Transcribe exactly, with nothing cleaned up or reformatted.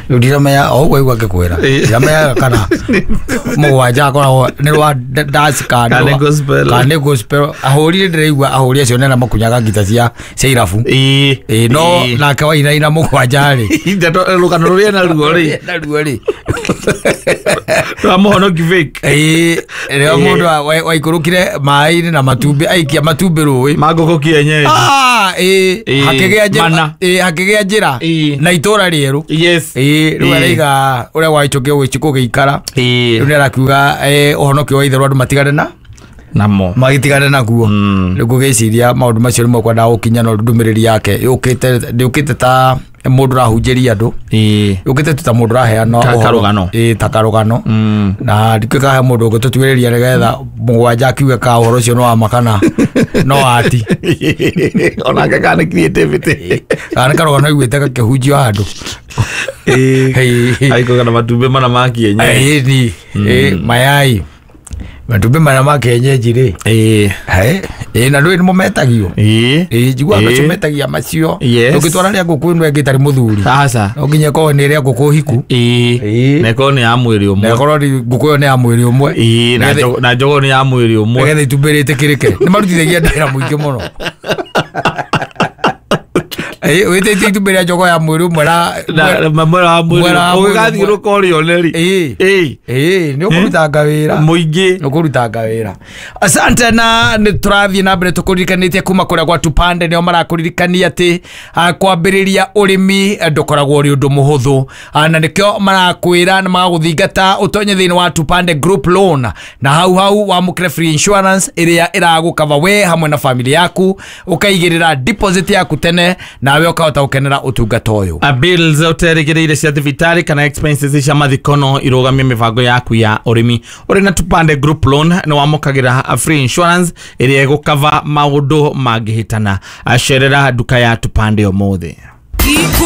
Rĩu ndiramenya o ũguo aigua ngĩkwĩra ndiramenya kana mũgwanja akoragwo nĩ rwa dance kana Kana nĩ gospel. Kana nĩ gospel. Ahũri ndĩraigua ahũri acio nĩ arĩa makunyaga ngita cia cia irabu. Ĩĩ. Ĩĩ, no Ĩĩ. nake wainaina mũgwanja rĩ, Ndeto- rũgano rũrĩa naruo rĩ, naruo rĩ, rwa mũhonoki fake. Ĩĩ, rĩrĩa mũndũ wa- wa- waikũrũkire maĩ-inĩ na matumbĩ, aikia matumbĩ rũĩ ma ngũkũ kienyeji. Ah, ĩĩ, Ĩĩ, hakĩgĩa njĩra. Mana. Ĩĩ, hakĩgĩa njĩra Ĩĩ. na itũra rĩerũ. Yes. Ĩĩ, rĩu Ĩĩ. araiga ũrĩa gwaichũkio gũgĩikara. Ĩĩ. Rĩu nĩ arakiuga eh, ũhonokio wa itherũ andũ matigane na namo magĩtigane naguo. Mm. Rĩu ngũgĩciria maũndũ macio nĩmo kwendaga gũkinya, no ndũmĩrĩri yake yũkĩte ndĩũkĩte ta mũndũ ũrahunjĩria andũ, Ĩĩ. yũkĩte tu ta mũndũ ũraheana Ta ũhoro. karũgano. Ĩĩ, ta karũgano. Mm. Na ndikĩũĩ kana he mũndũ ũngĩtũtuĩrĩria nĩgetha mũgwanja akiuge ka ũhoro ũcio nĩ wa ma kana no ati. Onake kana nĩ creativity. Kana nĩ karũgano aiguĩte gakĩhunjio handũ. Ĩĩ. Ĩĩ. Aikũga na matumbĩ mana ma kienyeji. Ĩĩ, ĩĩ, mayai, matumbĩ mana ma kienyeji rĩ. Ĩĩ. Ĩ, ĩĩ, na ndũĩ nĩmo metagio. Ĩĩ. Ĩĩ, njiguaga Ĩĩ. acio metagia macio. Yes. Ndũngĩtwara rĩa ngũkũ ĩno ĩngĩ ĩtarĩ mũthuri. Aca. No nginya ĩkorwo nĩ rĩa ngũkũ hiku. Ĩĩ. Ĩĩ. Na ĩkorwo nĩ ya mwĩrĩ Na ũmwe. ĩkorwo nĩ ngũkũ ĩyo nĩ ya mwĩrĩ ũmwe. Ĩĩ, na Nĩgetha- njogo- na njogoo nĩ ya mwĩrĩ ũmwe. Nĩgetha itumbĩ rĩtĩkĩrĩke. Nĩ marutithagia ndĩra mũingĩ mũno. Ĩĩ, wĩtĩtie itumbĩ rĩa njogoo ya mwĩrĩ ũmwe na Na- na mwera wa mwĩrĩ Mwera wa mwĩrĩ ũgĩgathiĩ ũmwe. rũka ũrĩone rĩ. Ĩĩ. Ĩĩ. Ĩĩ, nĩ ũkũrutanga wĩra. Mũingĩ. Nĩ ũkũrutanga wĩra. Asante, na nĩ tũrathiĩ na mbere tũkũririkanĩtie kuma kũrĩa gwa Tupande. Nĩo marakũririkania atĩ ah, kwambĩrĩria ũrĩmi eh, ndũkoragwo ũrĩ ũndũ mũhũthũ. Ah, na nĩkĩo marakwĩra na magagũthingata ũtonye thĩinĩ wa Tupande Group Loan, na hau hau wamũkĩre free insurance ĩrĩa ĩragũkava we hamwe na family yaku, ũkaigĩrĩra deposit yaku tene nawe ũkahota gũkenera ũtungata ũyũ. A bills ũterĩgĩrĩire cia thibitarĩ kana expenses cia mathiko no irũgamie mĩbango yaku ya ũrĩmi. Ũrĩ na Tupande Group Loan nĩ wamũkagĩra a free insurance ĩrĩa ĩgũkava maũndũ mangĩhĩtana. Acerera nduka ya Tupande ũmũthĩ. Iku